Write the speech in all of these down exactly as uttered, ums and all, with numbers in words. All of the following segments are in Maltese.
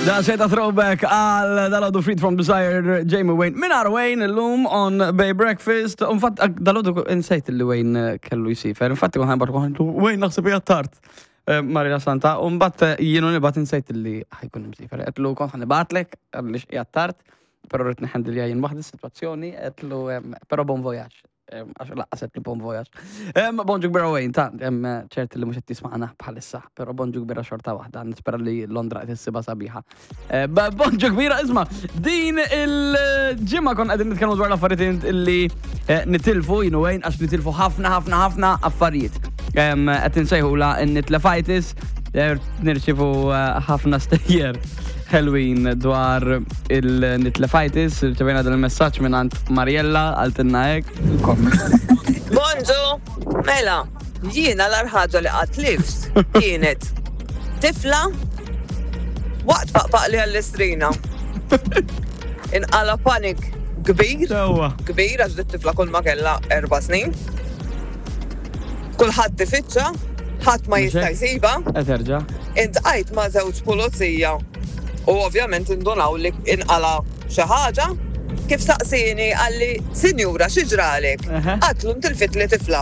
Da seta throwback għal dalgħodu Freed from Desire, Jamie Wayne. Mingħajr Wayne illum on Bay Breakfast. Infatti, dalgħodu insejt li Wayne kellu jsiefer. Infatti, għan barku Wayne naħseb hija tard. Eh, Marina Santa, umbagħad jienu nibgħat insejt li ħa jkun imsiefer. Għedtlu kont ħa nibgħatlek, għalix hija tard, pero rrid nħendilja jien waħdi situazzjoni, għedtlu, pero bon voyage. Għax lanqas għedtlu bon voyage. Bonġu kbira Wayne, ta' ċert li mhux qed tisma'na bħalissa, pero bonġu kbira xorta waħda, nispera li Londra qed issibha sabiħa. Eh, bonġu kbira, isma', din il-ġimgħa konna qegħdin nitkellmu dwar l-affarijiet li eh, nitilfu, jienu Wayne, għax nitilfu ħafna, ħafna, ħafna affarijiet. Qed insejħula n-nitlefitis, nirċivu eh, ħafna stejjer ħelwin dwar il-nitlefitis, rċevejna dan il-messaġġ minn għand Mariella, qaltilna hekk. Bonġu, mela, jiena l-agħar ħaġa li qatt tlift kienet tifla waqt paqpaqli għall-istrina. Inqala panik kbir, kbir għax dit-tifla kull ma kella erba' snin. Kulħadd tifittxa, ħadd ma jista' jsibha. Eterġa. Iltqajt ma' żewġ pulizija u ovvjament indunaw li inqala xi ħaġa. Kif saqsini qalli, "Sinjura, xi ġralek?" Għedtlu ntilfitli tifla.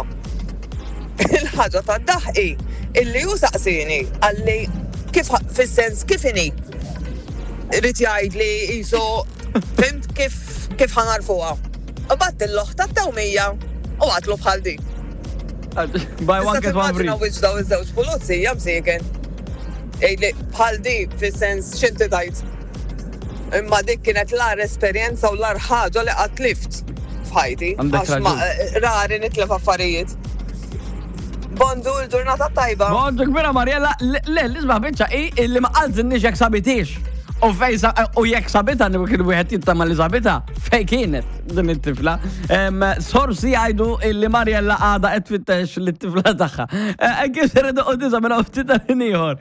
Il-ħaġa ta' daħqi illi hu saqsini qalli kif fis-sens kif inhi. Irid jgħid li jisu fhimt kif kif ħa nagħrfuha. U bgħatt l-oħt tat-tewmija u għedtlu bħal di. Buy one get one free. Wiċċ daw iż-żewġ pulizija msieken. Ejli bħal di fis-sens x'inti tajt. Imma dik kienet l-agħar esperjenza u l-agħar ħaġa li qatt tlift f'ħajti. Għandek Għax ma raġun. rari nitlef affarijiet. Bonġu l-ġurnata tajba. Bonġu kbira Mariella, le, l-isbaħ biċċa i illi ma qaltilniex jekk sabitix. U fej sa- u jekk sabita, kien wieħed jittama li sabita, fej kienet din it-tifla. Em, Sorsi jgħidu illi Mariella għada qed tfittex lit-tifla tagħha. Eh, Kif se u disa minn ftit tal ieħor.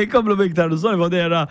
Ikomplu biktar, Sonny Fodera.